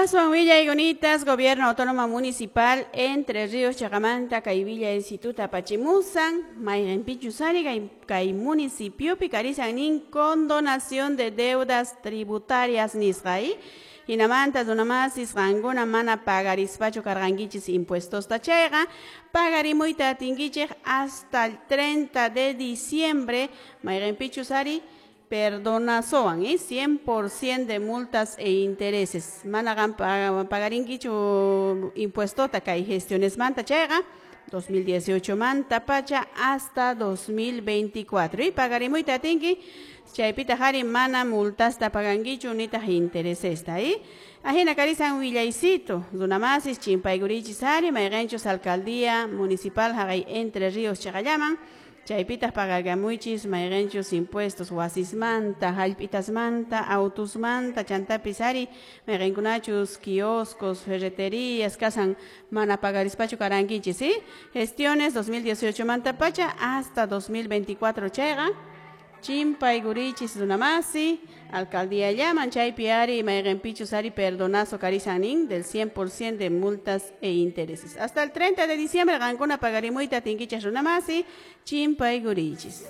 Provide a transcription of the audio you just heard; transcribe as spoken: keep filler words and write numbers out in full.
Aswan willaykunatas Gobierno Autónomo Municipal Entre Ríos chaqamanta kay Villa Instituto apachimusan mayqinpichus ari kay, kay municipiopi karisan nin condonación de deudas tributarias nisqa y hinamanta runamasis qankuna mana pagarispachu karqankichis impuestosta chayqa pagarimuyta atinkichik hasta el treinta de diciembre mayqinpichus ari perdonasowan, ¿eh? cien por ciento de multas e intereses. Mana qan pagarinkichu impuestota kay gestiones manta chayqa dos mil dieciocho manta pacha hasta dos mil veinticuatro y pagarimuyta atinki chaypitaq ari mana multasta pagankichu nitaq interesesta, ¿eh? Ajina karisan willaycito runamasis chimpaykurichis ari mayqinchus alcaldía municipal haqay Entre Ríos chaqallaman chaypitaq pagakamuychis mayqinchus impuestos wasismanta, hallp'itasmanta, autusmanta, chantapis ari mayqinkunachus kioscos, ferreterías kasan mana pagarispachu karankichis, ¿sí? Gestiones dos mil dieciocho manta pacha hasta dos mil veinticuatro chayqa chimpaykurichis runamasi alcaldía llaman chaypi ari mayqinpichus ari perdonazo karisan del cien por ciento de multas e intereses. Hasta el treinta de diciembre qankuna pagarimuyta atinkichis runamasi chimpaykurichis.